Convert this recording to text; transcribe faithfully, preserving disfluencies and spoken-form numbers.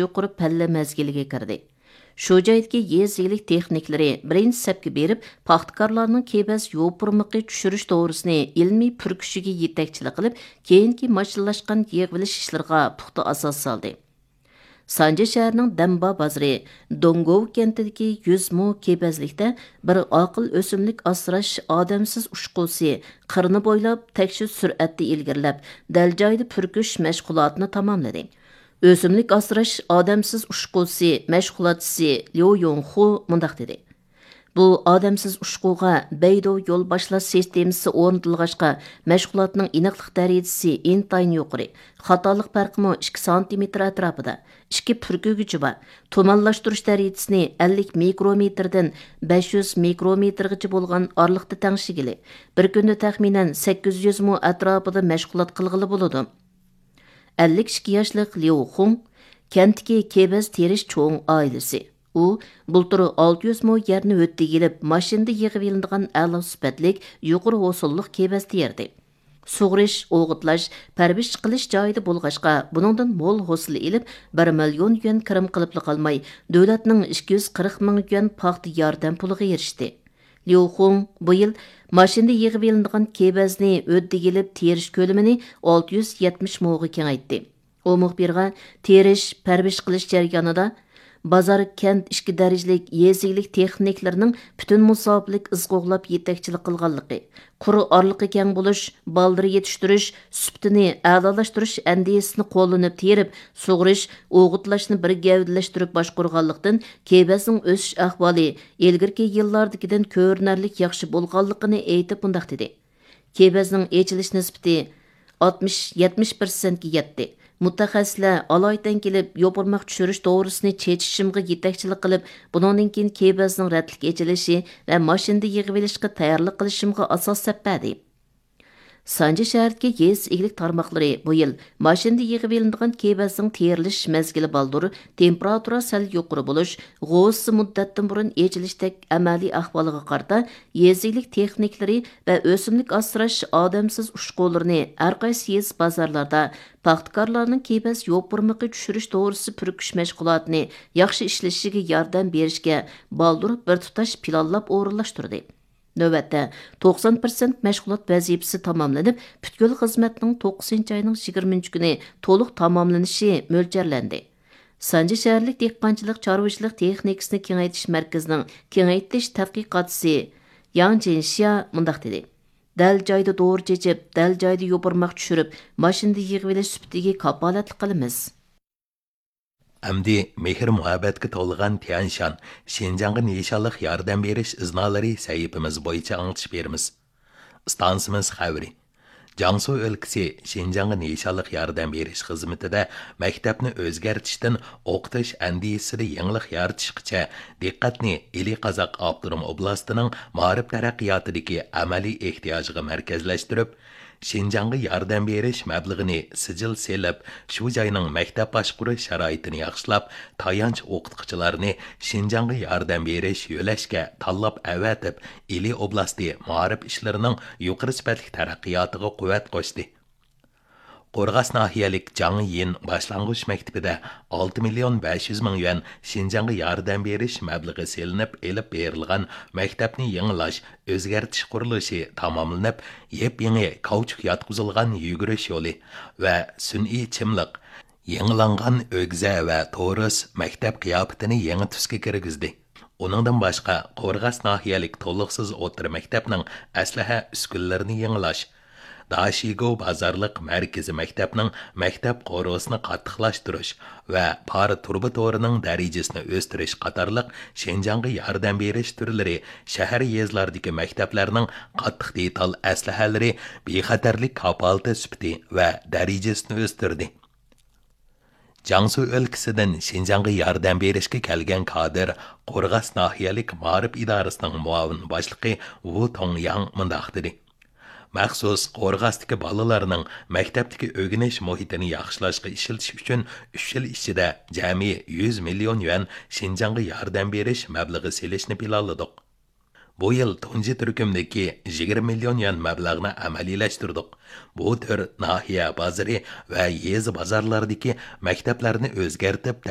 يۇقىرى پەللە مەزگىلىگە كىردى. شۇ جايدىكى يېزا ئىگىلىك تېخنىكلىرى بىرىنچى سەپكە بېرىپ، پاختىكارلارنىڭ كېبەز يوپۇرمىقى چۈشۈرۈش دورىسىنى ئىلمىي پۈركۈشىگە يېتەكچىلىك قىلىپ، كېيىنكى ماشىنىلاشقان يىغىۋېلىش ئىشلىرىغا پۇختا ئاساس سالدى. سانجى شەھىرىنىڭ دەمبا بازىرى دونگوۋ كەنتىدىكى يۈز مو كېبەزلىكتە بىر ئاقىل ئۆسۈملۈك ئاسراش ئادەمسىز ئۇچقۇسى قىرنى بويلاپ تەكشى سۈرئەتتە ئىلگىرىلەپ، دەل جايىدا پۈركۈش مەشغۇلاتىنى تاماملىدى. ئۆسۈملۈك ئاسراش ئادەمسىز ئۇچقۇسى مەشغۇلاتچىسى ليۇ يۇڭخۇ مۇنداق دېدى: بۇ ئادەمسىز ئۇچقۇغا بەيدۇ يول باشلاش سىستېمىسى ئورنىتىلغاچقا، مەشغۇلاتنىڭ ئېنىقلىق دەرىجىسى ئىنتايىن يۇقىرى، خاتالىق پەرقىمۇ ئىككى سانتىمېتىر ئەتراپىدا، ئىككى پۈركۈگۈچى بار، تۇمانلاشتۇرۇش دەرىجىسىنى ئەللىك مىكرومېتىردىن بەش يۈز مىكرومېتىرغىچە بولغان ئارىلىقتا تەڭشىگىلى، بىر كۈندە تەخمىنەن سەككىز يۈز مو ئەتراپىدا مەشغۇلات قىلغىلى بولىدۇ. ئەللىك ئىككى ياشلىق ليۇ خۇڭ كەنتتىكى كېبەز تېرىش چوڭ ئائىلىسى. ئۇ بۇلتۇر ئالتە يۈز مو يەرنى ھۆددىگە ئېلىپ، ماشىنىدا يىغىۋېلىنىدىغان ئەلا سۈپەتلىك، يۇقىرى ھوسۇللۇق كېبەز تېرىدى. سۇغىرىش، ئوغۇتلاش، پەرۋىش قىلىش جايىدا بولغاچقا، بۇنىڭدىن مول ھوسۇل ئېلىپ، بىر مىليون يۈەن كىرىم قىلىپلا قالماي، دۆلەتنىڭ ئىككى يۈز قىرىق مىڭ يۈەن پاختا ياردەم پۇلىغا ئېرىشتى. ليۇ خۇڭ بۇ يىل ماشىنىدا يىغىۋېلىنىدىغان كېبەزنى ھۆددىگە ئېلىپ تېرىش كۆلىمىنى ئالتە يۈز يەتمىش موغا كېڭەيتتى. ئۇ مۇخبىرغا تېرىش، پەرۋىش قىلىش جەريانىدا بازار، كەنت ئىككى دەرىجىلىك يېزا ئىگىلىك تېخنىكلىرىنىڭ پۈتۈن مۇساپىلىك ئىز قوغلاپ يېتەكچىلىك قىلغانلىقى، قۇر ئارىلىقى كەڭ بولۇش، بالدۇر يېتىشتۈرۈش، سۈپىتىنى ئەلالاشتۇرۇش ئەندىزىسىنى قوللىنىپ تېرىپ، سۇغىرىش، ئوغۇتلاشنى بىر گەۋدىلەشتۈرۈپ باشقۇرغانلىقتىن، كېبەزنىڭ ئۆسۈش ئەھۋالى ئىلگىرىكى يىللاردىكىدىن كۆرۈنەرلىك ياخشى بولغانلىقىنى ئېيتىپ مۇنداق دېدى: كېبەزنىڭ ئېچىلىش نىسبىتى ئاتمىش، يەتمىش پىرسەنتكە يەتتى. مۇتەخەسسىسلەر ئالايىتەن كېلىپ، يوپۇرماق چۈشۈرۈش دورىسىنى چېچىشىمغا يېتەكچىلىك قىلىپ، بۇنىڭدىن كېيىن كېبەزنىڭ رەتلىك ئېچىلىشى ۋە ماشىنىدا يىغىۋېلىشقا تەييارلىق قىلىشىمغا ئاساس سەپ بەردى. سانجى شەھىرىدىكى يېزا ئىگىلىك تارماقلىرى بۇ يىل ماشىنىدا يىغىۋېلىنىدىغان كېبەزنىڭ تېرىلىش مەزگىلى بالدۇر، تېمپېراتۇرا سەل يۇقىرى بولۇش، غوۋۇسى مۇددەتتىن بۇرۇن ئېچىلىشتەك ئەمەلىي ئەھۋالىغا قارىتا، يېزا ئىگىلىك تېخنىكلىرى ۋە ئۆسۈملۈك ئاسراش ئادەمسىز ئۇچقۇلىرىنى ھەر قايسى يېزا بازارلاردا پاختىكارلارنىڭ كېبەز يوپۇرمىقى چۈشۈرۈش دورىسى پۈركۈش مەشغۇلاتىنى ياخشى ئىشلىشىگە ياردەم بېرىشكە بالدۇر بىر تۇتاش پىلانلاپ ئورۇنلاشتۇردى. نۆۋەتتە، توقسان پىرسەنت مەشغۇلات ۋەزىپىسى تاماملىنىپ، پۈتكۈل خىزمەتنىڭ توققۇزىنچى ئاينىڭ يىگىرمىنچى كۈنى تولۇق تاماملىنىشى مۆلچەرلەندى. سانجى شەھەرلىك دېھقانچىلىق، چارۋىچىلىق تېخنىكىسىنى كېڭەيتىش مەركىزىنىڭ كېڭەيتىش تەتقىقاتچىسى ياڭ جىنشيا مۇنداق دېدى: دەل جايىدا دورا چېچىپ، دەل جايىدا يوپۇرماق چۈشۈرۈپ، ماشىنىدا يىغىۋېلىش سۈپىتىگە كاپالەتلىك قىلىمىز. ئەمدى مېھىر-مۇھەببەتكە تولغان تيەنشان شىنجاڭغا نىشانلىق ياردەم بېرىش ئىزنالىرى سەھىپىمىز بويىچە ئاڭلىتىش بېرىمىز. ئىستانسىمىز خەۋىرى. جياڭسۇ ئۆلكىسى شىنجاڭغا نىشانلىق ياردەم بېرىش خىزمىتىدە مەكتەپنى ئۆزگەرتىشتىن ئوقۇتۇش ئەندىزىسىدە يېڭىلىق يارىتىشقىچە دىققەتنى ئىلى قازاق ئاپتونوم ئوبلاستىنىڭ مائارىپ تەرەققىياتىدىكى ئەمەلىي ئېھتىياجىغا مەركەزلەشتۈرۈپ، شىنجاڭغا ياردەم بېرىش مەبلىغىنى سىجىل سېلىپ، شۇ جاينىڭ مەكتەپ باشقۇرۇش شارائىتىنى ياخشىلاپ، تايانچ ئوقۇتقۇچىلارنى شىنجاڭغا ياردەم بېرىش يۆلەشكە تاللاپ ئەۋەتىپ، ئىلى ئوبلاستى مائارىپ ئىشلىرىنىڭ يۇقىرى سۈپەتلىك تەرەققىياتىغا قۇۋۋەت قوشتى. قورغاس ناھىيەلىك جاڭ يىن باشلانغۇچ مەكتىپىدە ئالتە مىليون بەش يۈز مىڭ يۈەن شىنجاڭغا ياردەم بېرىش مەبلىغى سېلىنىپ ئېلىپ بېرىلغان مەكتەپنى يېڭىلاش، ئۆزگەرتىش قۇرۇلۇشى تاماملىنىپ، يېپيېڭى كاۋچۇك ياتقۇزۇلغان يۈگۈرۈش يولى ۋە سۈنئىي چىملىق، يېڭىلانغان ئۆگزە ۋە تورۇس مەكتەپ قىياپىتىنى يېڭى تۈسكە كىرگۈزدى. ئۇنىڭدىن باشقا، قورغاس ناھىيەلىك تولۇقسىز ئوتتۇرا مەكتەپنىڭ ئەسلىھە ئۈسكۈنىلىرىنى يېڭىلاش، داشىگو بازارلىق مەركىزىي مەكتەپنىڭ مەكتەپ قورۇسىنى قاتتىقلاشتۇرۇش ۋە پار تۇرۇبا تورىنىڭ دەرىجىسىنى ئۆستۈرۈش قاتارلىق شىنجاڭغا ياردەم بېرىش تۈرلىرى شەھەر، يېزىلاردىكى مەكتەپلەرنىڭ قاتتىق دېتال ئەسلىھەلىرى بىخەتەرلىك كاپالىتى سۈپىتى ۋە دەرىجىسىنى ئۆستۈردى. جياڭسۇ ئۆلكىسىدىن شىنجاڭغا ياردەم بېرىشكە كەلگەن كادىر قورغاس ناھىيەلىك مائارىپ ئىدارىسىنىڭ مۇئاۋىن باشلىقى ۋۇ توڭياڭ مۇنداق دېدى: مەخسۇس قورغاستىكى بالىلارنىڭ مەكتەپتىكى ئۆگىنىش مۇھىتىنى ياخشىلاشقا ئىشلىتىش ئۈچۈن ئۈچ يىل ئىچىدە جەمئىي يۈز مىليون يۈەن شىنجاڭغا ياردەم بېرىش مەبلىغى سېلىشنى پىلانلىدۇق. بۇ يىل تۇنجى تۈركۈمدىكى يىگىرمە مىليون يۈەن مەبلەغنى ئەمەلىيلەشتۈردۇق. بۇ تۈر ناھىيە بازىرى ۋە يېزا بازارلاردىكى مەكتەپلەرنى ئۆزگەرتىپ،